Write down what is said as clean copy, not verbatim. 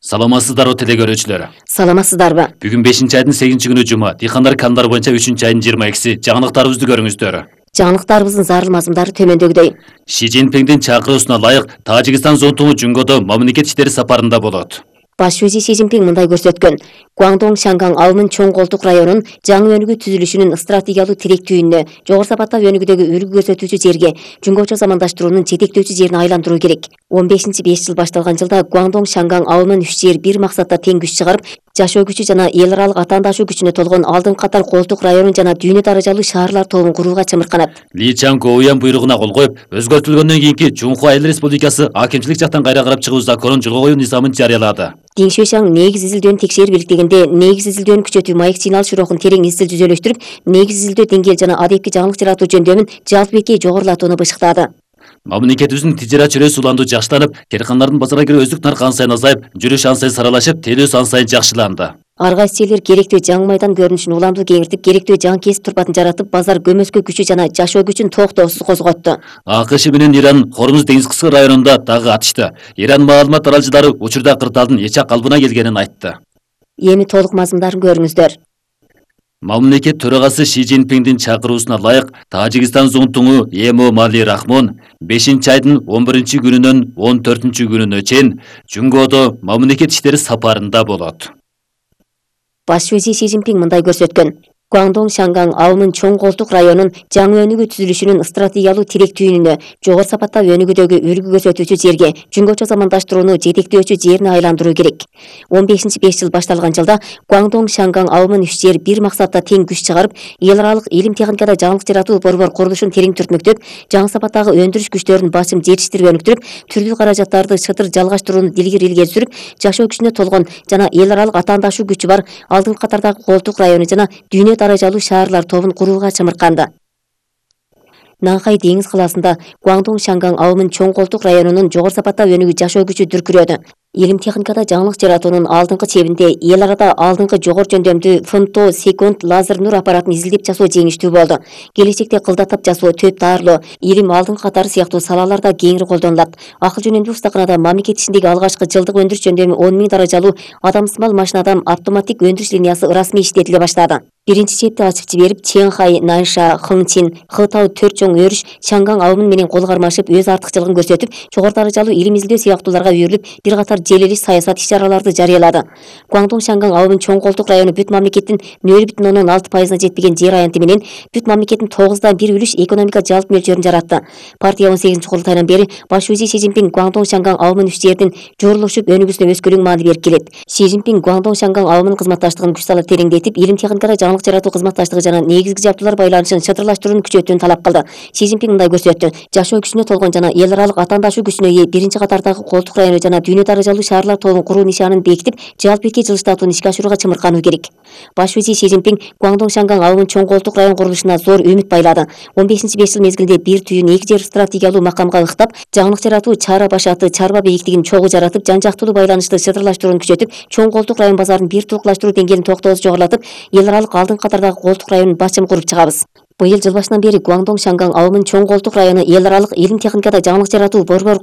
Саламатсыздарбы телекөрүүчүлөр. Саламатсыздарбы. Бүгүн 5-айдын 8-күнү жума. Дыйкандар кандар боюнча 3-айдын 22-си. Жаңылыктарыбызды көрүңүздөр. Жаңылыктарыбыздын зарыл мазмундары төмөндөгүдөй. Ши Цзиньпиндин чакыруусуна ылайык Тажикстан зонтугу Жунгодо мамлекет иштери сапарында болот. Баш вазир Ши Цзиньпин мындай көрсөткөн. Гуандong Шанган ауылынын чоң колтук районунун жаңы өнүгүү түзүлүшүнүн стратегиялык тиректүүнүнө, жогору сапаттагы өнүгүүдөгү үлгү көрсөтүүчү жерге, жумгочо замандаштыруунун жетектөөчү жерине айландыруу керек. 15-5 жыл башталган жылда Гуандong Шанган ауылынын 3 жер бир максатта тең күч чыгарып, жашоо күчү жана эл аралык атаандашуу күчүнө толгон алдыңкы катар колтук районун жана дүйнө даражалуу шаарлар тобун курууга чымырканат. Ли Чанг-Оуян буйругуна кол коюп, өзгөртүлгөндөн кийинки Чунхуа Эл Республикасы акимчилик жактан кайра карап чыгуу законун жолго коюу низамын жарыялады. Дин Шуйшаң негиз изилдөөнү текшерип иликтегенде негиз изилдөөнү күчөтүү маек сигнал широкун терең изил түзөлөштүрүп, негиз изилдөө деңгээл жана адепки жаңылык жаратуу жөндөмүн жалпы бекей жогорулатууну бышыктады. Мамлекетибиздин тижарат чөйрөсү уланду жакшыланып, керкандардын базарга кирүү өздүк наркы ан сайын азайып, жүрүш ан сайын саралашып, тейлөөсү ан сайын жакшыланды. Ар кайсы жерлер керектүү жаңы майдан көрүнүшүн уланду кеңиртип, керектүү жаңы кесип турпатын жаратып, базар көмөскө күчү жана жашоо күчүн токтоосуз козготту. АКШ менен Иран Хормуз деңиз кыскы районунда дагы атышты. Иран маалымат аралчылары учурда кырдаалдын эч калыбына келгенин айтты. Эми толук мазмундарын көрүңүздөр. Мамлекет төрагасы Ши Цзиньпиндин чакыруусуна ылайык Тажикстан зонтугу Эмомали Рахмон 5-айдын 11-күнүнөн 14-күнүнө чейин Жунгодо мамлекет иштери сапарында болот. Баш вазир Ши Цзиньпин мындай көрсөткөн. Гуандong Шанган ауылынын чоң колтук районунун жаңы өнүгүү түзүлүшүнүн стратегиялык тиректүүнүнө, жогору сапаттагы өнүгүүдөгү үлгү көрсөтүүчү жерге, жунгочо замандаштырууну жетектөөчү жерине айландыруу керек. 15-5 жыл башталган жылда Гуандong Шанган ауылынын 3 жер бир максатта тең күч чыгарып, эл аралык илим техникада жаңылык жаратуу борбор курулушун терең түртмөктөп, жаңы сапаттагы өндүрүш күчтөрүн басым жетиштирип өнүктүрүп, түрдүү каражаттарды шытыр жалгаштырууну илгери сүрүп, жашоо күчүнө толгон жана эл аралык атаандашуу күчү бар алдыңкы катардагы колтук району жана дүйнө даражалуу шаарлар тобун курууга чымырканды. Нанхай деңиз калаасында Гуандong Шанган ауылынын чоң колтук районунун жогору сапаттагы өнүгүү жашоо күчү дүркүрөдү. Илим техникада жаңылык жаратуунун алдыңкы чебинде эл арада алдыңкы жогору жөндөмдүү фемто секунд лазер нур аппаратын изилдеп жасоо жеңиштүү болду. Келечекте кылдатап жасоо, төп даарылоо, илим алдыңкы катары сыяктуу салаларда кеңири колдонулат. Акыл жөнөмдүү устаканада мамлекет ичиндеги алгачкы жылдык өндүрүш жөндөмү 10 000 даражалуу адамсымал машинадан автоматтик өндүрүш линиясы ырасмий иштетиле баштады. Биринчи чепти ачып жиберип, Ченхай, Нанша, Хыңчин, Хытау төрт чоң өрүш Шанган ауылы менен кол кармашып, өз артыкчылыгын көрсөтүп, жогору даражалуу илим изилдөө сыяктууларга үйрүлүп, бир катар желелиш саясат иш-чараларды жарыялады. Гуандong Шанган ауылынын чоң колтук району бүт мамлекеттин 0,6%-на жетпеген жер аянты менен бүт мамлекеттин 9/1 үлүш экономика жалпы мөлчөрүн жаратты. Партия 18-курултайынан бери баш вазир Ши Цзиньпин Гуандong Шанган ауылынын 3 жердин жорулушуп өнүгүүсүнө өскөлөң маани берип келет. Ши Цзиньпин Гуандong Шанган ауылынын кызматташтыгын күч салып тереңдетип, илим техникада жаңылык жаратуу кызматташтыгы жана негизги жабдуулар байланышын чатырлаштырууну күчөтүүнү талап кылды. Ши Цзиньпин мындай көрсөттү. Жашоо күчүнө толгон жана эл аралык атаандашуу күчүнө ээ биринчи катардагы колтук району жана дүйнө даражалуу шаарлар тобун куруу нишанын бекитип, жалпы бекей жылыштатууну ишке ашырууга чымыркануу керек. Баш вазир Ши Цзиньпин Гуандong Шанган ауылынын чоң колтук район курулушуна зор үмүт байлады. 15-5 жыл мезгилинде бир түйүн 2 жер стратегиялуу макамга ыктап, жаңылык жаратуу чара башаты, чарба бейиктигин чогуу жаратып, жан жактуулуу байланышты чатырлаштырууну күчөтүп, чоң колтук район базарын бир тууклаштыруу деңгээлин токтоосуз жогорулатып, эл аралык алдыңкы катардагы колтук районун басым куруп чыгабыз. Быйыл жыл башынан бери Гуандong Шанган ауылынын чоң колтук району эл аралык илим техникада жаңылык жаратуу борбор